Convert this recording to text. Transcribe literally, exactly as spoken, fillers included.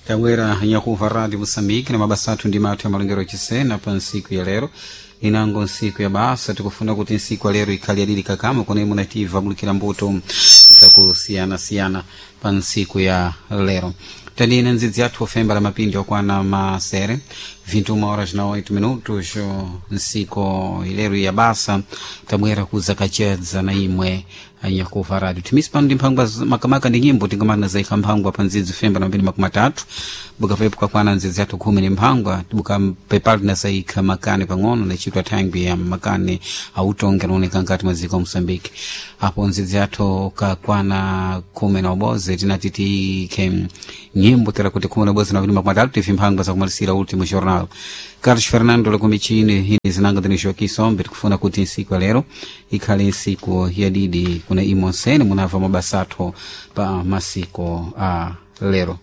Tabwera nyakuva Radio Moçambique na mabasa athu ndi mathu ya malongero achisena pa ntsiku ya lero, inango ntsiku ya basa. Tikufuna kuti ntsiku ya lero ikhale yadidi kakama kone munativa bulikira mbuto zakusiyanasiyana pa ntsiku ya lero. Tandina ndzidzi athu ofemba la mapindi okwana masere vinte e uma horas na oito minutos nsiku ilero ya basa. Tabwera kuzakachedza na imwe anyakuva radio timisi pano ndi mphangwa makamaka ndi nyimbo tingamana zaikha mphangwa pa ndzidzi femba na mapindi makumi atatu bukapepo kakwana ndzidzi athu khumi ni mphangwa bukapepali tinazaikha makani pang'ono nachitwa thangwi ya makani autonge anaoneka nkati mwa dziko Moçambique. Apo ndzidzi athu kakwana khumi na ubozi tinati tiikhe nyimbo tera kuti khumi na ubozi na mapindi makumi atatu tifi mphangwa zakumalisira último jornal. Carlos Fernando lakumichini hini zinanga dini Joaquim Sombe. Tikufuna kuti nsiku ya lero ikhale nsiku yadidi kuna imonsene munamva mabasa athu pa masiko a lero.